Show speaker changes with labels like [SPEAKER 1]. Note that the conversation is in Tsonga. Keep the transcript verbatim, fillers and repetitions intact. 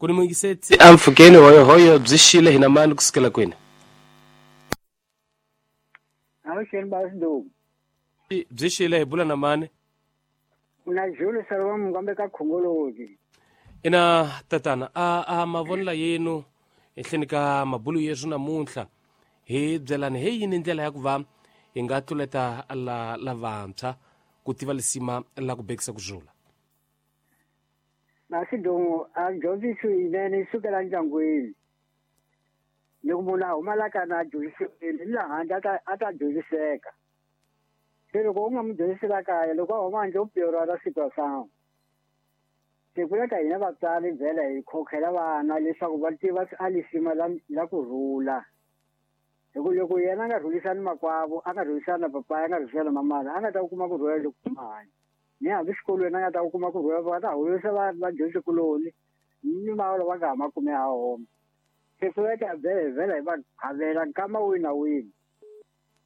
[SPEAKER 1] Ku ni muyingiseti ampfhukeni hoyohoyo byi xile hina mani kusukela kwini?
[SPEAKER 2] Avuxeni Basiduku.
[SPEAKER 1] Byi xile hi bula na mani?
[SPEAKER 2] Na Jules Salomon Mukambe ka Khongolozi.
[SPEAKER 1] Ina tatana a a mavonelo yenu ehleni ka mabulu yesu namuntlha hi byelani hi yini ndlela ya ku va hi nga tluleta la lavantshwa ku tiva lisima la ku bekisa ku zula?
[SPEAKER 2] Basiduku a dyondzisi yinene yi sukela ndyangwini. Loko munhu a huma la ka na dyondzisiwile ni laha handle a ta a ta dyondziseka. Se loko u nga n'wi dyondzisi la kaya loko a huma handle u piorara situação. Se ku leka hina vatswari vhela hi khokhela vana leswaku va tiva a lisima la la ku rhula. Hi ku loko yena a nga rhulisani makwavo, a nga rhulisani na papaya, a nga rhulisani na mamana, a nga ta kuma ku rhula loko hanya. Ni hambi xikolweni a nga ta kuma ku rhula va ta holisa va vadyondzikuloni ni mavalo va nga ha ma kumi ha homa. Se ku leka vhele vhele hi va qhavela nkama wihi na wihi.